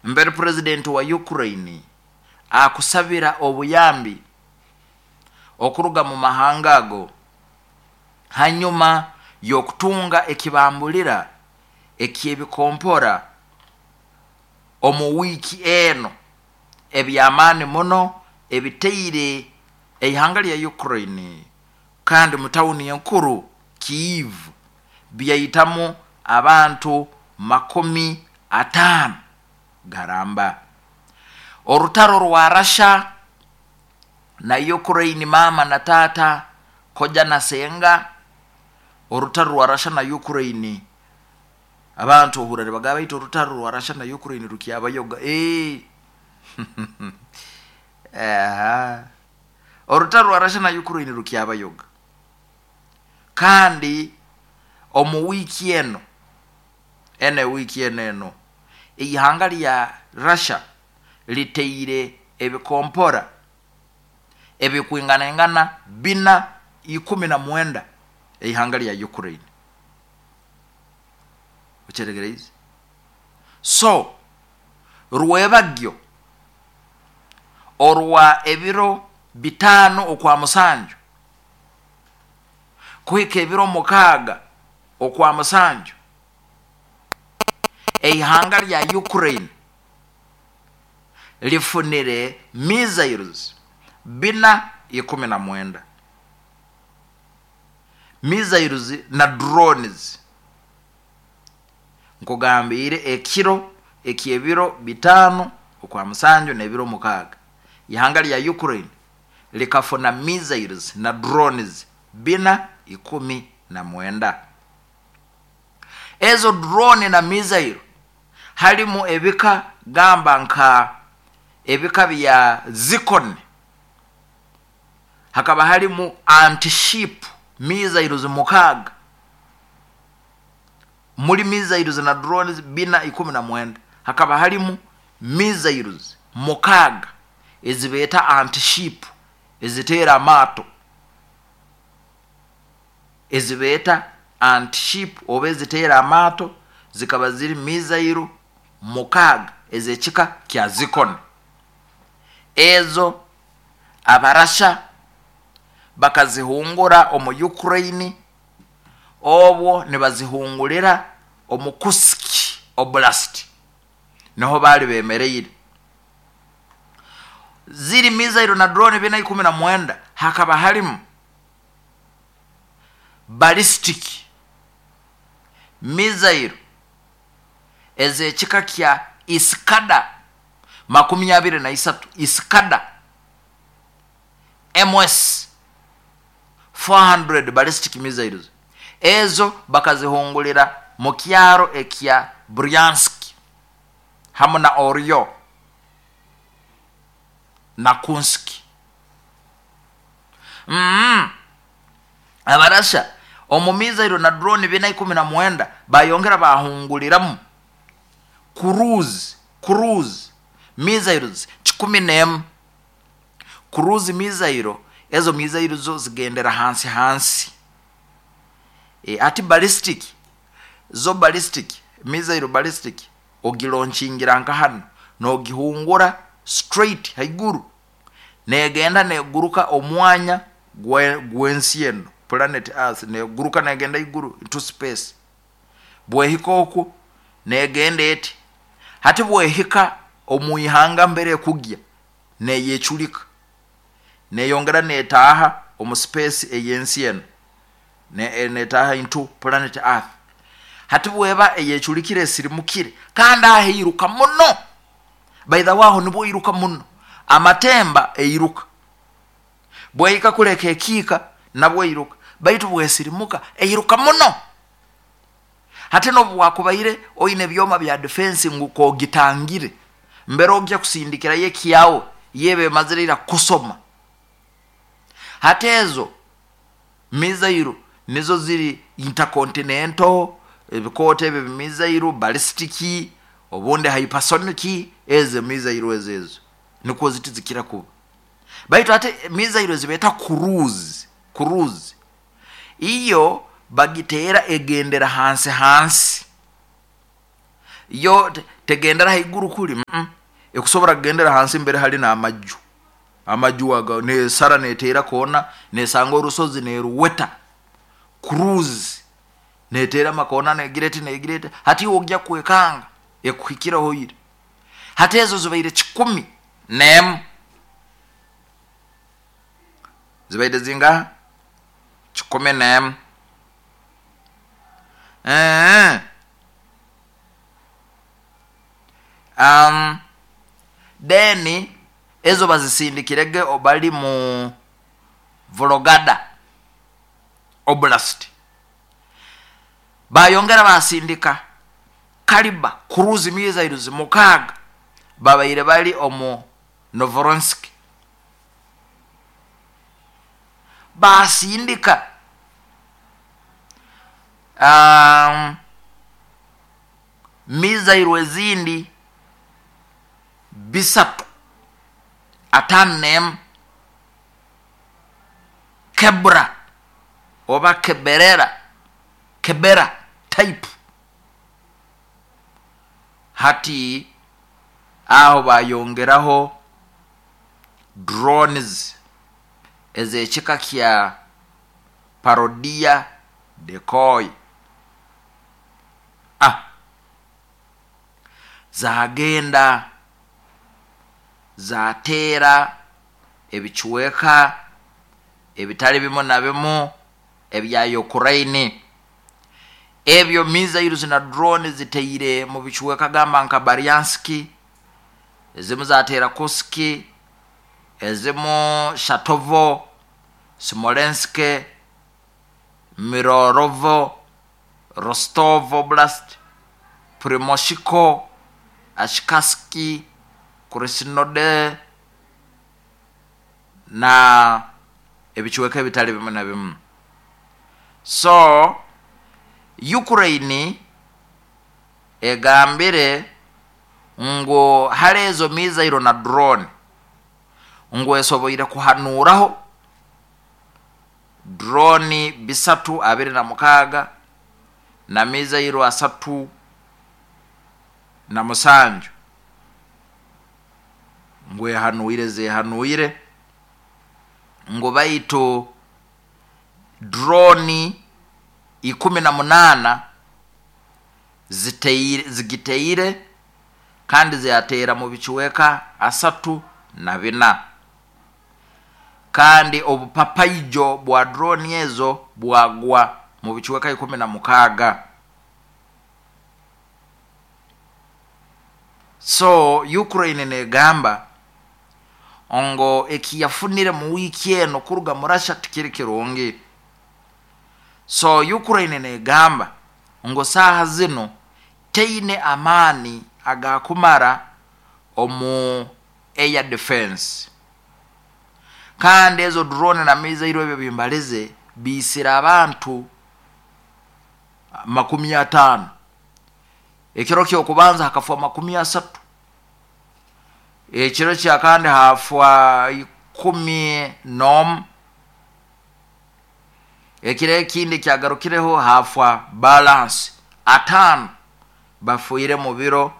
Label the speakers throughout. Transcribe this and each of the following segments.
Speaker 1: Mbere purezidenti wa Ukraine akusabira obuyambi okuruga mu mahanga ago hanyuma y'okutunga ekibambulira eky'ebikompora omu wiiki eno eby'amaani muno ebitaire eihanga lya Ukraine kandi mu tawuni enkuru Kyiv byaitamu abantu 50 garamba. Orutaro rwa Russia na Ukraine, maama na taata, koja na senga, orutaro rwa Russia na Ukraine, abantu ohurra nibagamba baitu orutaro rwa Russia na Ukraine rukyabayoga. Ee orutaro rwa Russia na Ukraine rukyabayoga. Kandi omu wiiki eno, eno ewiiki eno eno, eihanga lya Russia litaire ebikompora ebikwinganaingana 419 eihanga lya Ukraine. Okyetegereize? So, rwebagyo orwa ebiro 5 okwa 7 kuhika ebiro 6 okwa 7, eihanga lya Ukraine lifunire missiles 419, missiles na drones. Nkugambiire ekiro eky'ebiro 5 okwa 7 n'ebiro 6, ihanga lya Ukraine likafuna missiles na drones 419. Ezo drone na missile halimu ebika gamba nka ebika bya Zircon, hakaba halimu anti-ship missiles 6, muri missiles na drones 419 hakaba halimu missiles 6 ezibeeta anti-ship, eziteera amaato, ezibeeta anti-ship oba eziteera amaato, zikaba ziri missile 6 ez'ekika kya Zircon. Ezo Abarasha bakazihungura omu Ukraine, obwo nibazihungurira omu Kursk Oblast, niho baali bemereire. Ziri missile na drone 419 hakaba halimu ballistic missile ez'ekika kya Iskander 23, Iskander MS 400 ballistic missiles. Ezo bakazihungulira mu kyaro ekya Bryansk hamu na Oryol na Kursk. Abarasha omu missile na drone 419 bayongera bahunguliramu cruise missiles 101. Cruise missile, ezo missile zo zigendera hansi hansi. Ati ballistic, zo ballistic missile, ballistic ogilaunchingira nka hanu nogihungura straight haiguru, negenda neguruka omwanya gw'ensi eno, planet Earth, neguruka negenda iguru into space. Bwehika oku negenda eti, hati bwehika omu ihanga mbere ekugya neyeculika, neyongera netaaha omu space ey'ensi eno, netaaha into planet Earth. Hati bweba eyeculikire esirimukire, kandi aho eiruka muno, by the way, aho nibwo eiruka muno, amatemba eiruka, bwehika kuleka ekiika nabwo eiruka, baitu bwesirimuka eiruka muno. Hati nobu bwakubaire oine ebyoma bya defense ngu kogitangire, mbere ogya kusindikirayo ekyawe yeba emazire ira kusoma. Hati ezo missile nizo ziri intercontinental, ebikoota ebyo missile ballistic, obundi hypersonic, ezo missile ezo ezo nikwo ziti zikira kuba. Baitu ate missile ezibeeta cruise, iyo bagiteera egendera hansi hansi, yo Tegendera haiguru kuli, ekusobora kugendera hansi mbere hali n'amaju. Amaju aga nesara neteera koona, nesanga orusozi neruweta. Cruise neteera amakoona negira eti negira eti, hati iwe ogya kwekanga ekuhikireho ira. Hati ezo zibaire 101. Zibaire zingaha? 101. Then ezo bazisindikirege bali mu Vologada Oblast. Bayongera basindika Caliber cruise missiles 6 babaire bali omu Novoronsk. Basindika missile ezindi 351 Kebra oba Keberera, Kebera type. Hati aho bayongeraho drones ez'ekika kya Parodia decoy. Zagenda zateera ebicweka ebitali bimu na bimu ebya Ukraine. Ebyo missiles na drone ziteire mu bicweka gamba nka Bryansk, ezimu zateera Kursk, ezimu Shatovo, Smolensk, Mirorovo, Rostov Oblast, Primoshiko, Ashkaski, Krasnodar na ebicweka ebitali bimu na bimu. So Ukraine egambire ngu hali ezo missile na drone ngu esoboire kuhanuraho drone 326 na missile 37 ngu ehanuire zehanuire ngu baitu drone 18 zigiteire kandi ziatera mu bicweka 34, kandi obupapaijo bwa drone ezo bwagwa mu bicweka 16. So Ukraine negamba ngo ekiyafunire mu wiiki eno kuruga mu Russia tikiri kirungi. So Ukraine negamba ngo saaha zino teine amaani agakumara omu air defense, kandi ezo drone na missile ebyo bimbalize biisira abantu 50. Ekiro kyokubanza hakafwa 30, ekiro kya kandi hafwa 11, ekiro ekindi kyagarukireho hafwa balance 5 bafuire mu biro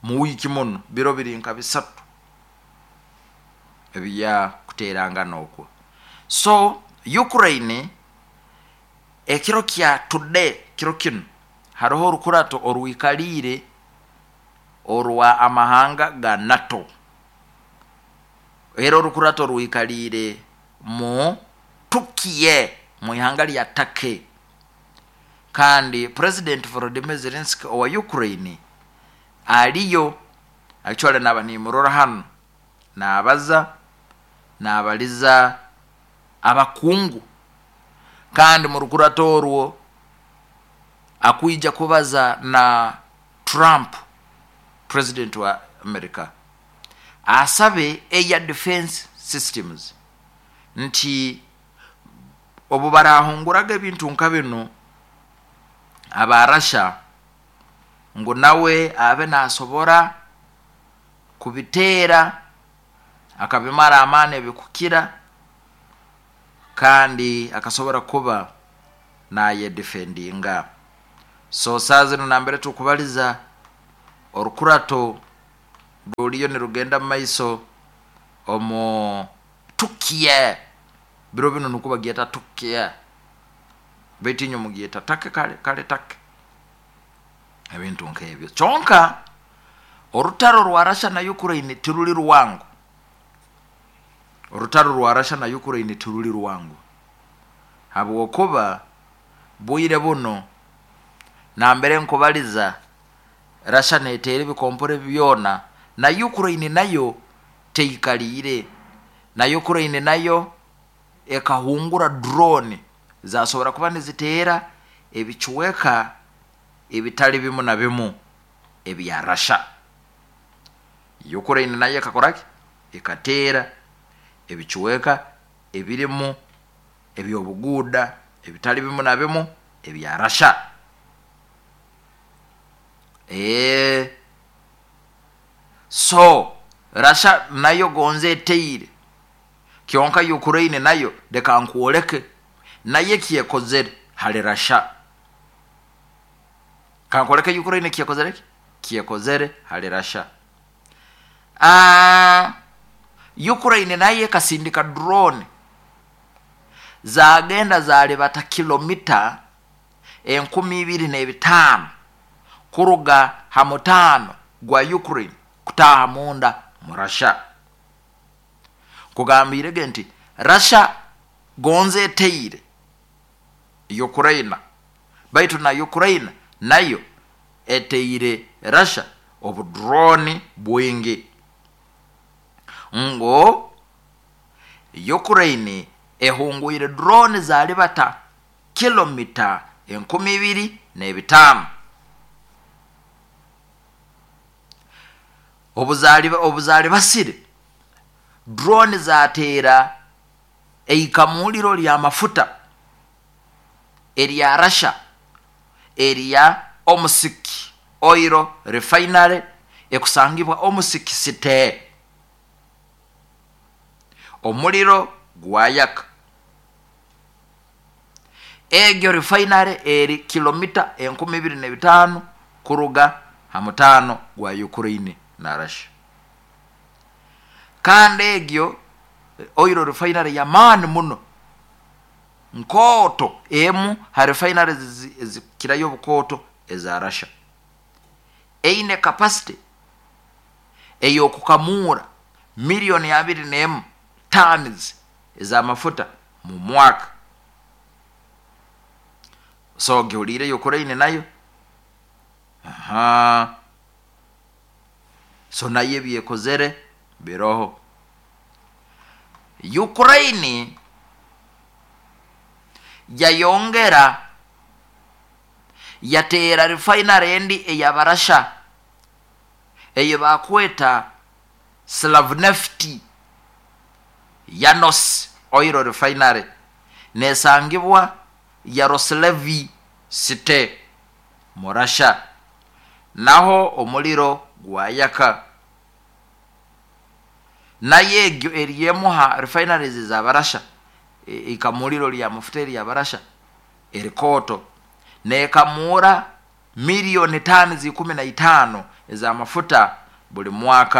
Speaker 1: mu wiiki muno, biro biri nka 3 ebya kuterangana okwo. So Ukraine ekiro kya today, kiro kino hariho orukurato orwikalire orwa amahanga ga NATO, era orukurato orwikalire mu Turkey, mu ihanga lya Turkey, kandi President Volodymyr Zelensky owa Ukraine aliyo. Actually naba nimurora hano nabaza nabaliza abakungu, kandi mu rukurato orwo akwija kubaza na Trump president wa America, asabe air defense systems nti obu barahunguraga ebintu nka bino aba Russia ngu nawe abe nasobora kubiteera akabimara amaani ebikukira, kandi akasobora kuba nayedefendinga. So saa zino nambere tukubaliza Orukurato ruriyo nirugenda mu maiso omu Tukiye. Biro binu nukwo bagyeta Tukiye, baitu inywe mugyeta Take. Kale kale Take, ebintu nk'ebyo. Kyonka orutaro rwa Russia na Ukraine tiruli ruwango. Orutaro rwa Russia na Ukraine tiruli ruwango, habwokuba bwire buno nambere nkubaliza, Russia neteera ebikompore byona, na Ukraine nayo teikaliire. Na Ukraine nayo ekahungura drone zasobora kuba niziteera ebicweka ebitali bimu na bimu ebya Russia. Ukraine nayo ekakoraki? Ekateera ebicweka ebirimu ebyobuguuda ebitali bimu na bimu ebya Russia. So Russia nayo gonza eteire, kyonka Ukraine nayo, leka nkwoleke nayo ekyekozere hali Russia. Kankwoleke Ukraine ekyekozere ki kyekozere hali Russia. Ukraine nayo ekasindika drone, zagenda zalibata kilomita 2500 kuruga ha mutaano gwa Ukraine kutaaha munda mu Russia. Nkugambirege nti Russia gonza eteire Ukraine, baitu na Ukraine nayo eteire Russia obudroni bwingi. Ngu Ukraine ehungwire drone zalibata kilomita 2500. Obuzalibasire drone, zateera eikamuliro ly'amafuta erya Russia erya Omsk Oil Refinery ekusangibwa Omsk City. Omuliro gwayaka. Egyo refinery eri kilomita 2500 kuruga ha mutaano gwa Ukraine na Russia. Kandi egyo oil refinery y'amaani muno, nkooto, emu ha refinery ezikirayo obukooto eza Russia. Eine capacity ey'okukamuura 21 million tons ez'amafuta mu mwaka. So gihuliire Ukraine nayo. Aha, so nayo ebyekozere biroho. Ukraine yayongera yateera refinery endi ey'Abarasha eyo bakweta Slavneft Yanos Oil Refinery, nesangibwa Yaroslavl City mu Russia. Naho omuliro gwayaka. Nayo egyo eri emu ha refineries ez'Abarasha, ikamuliro ly'amafuta ery'Abarasha erikooto, nekamuura miliyoni tani 15 ez'amafuta buli mwaka.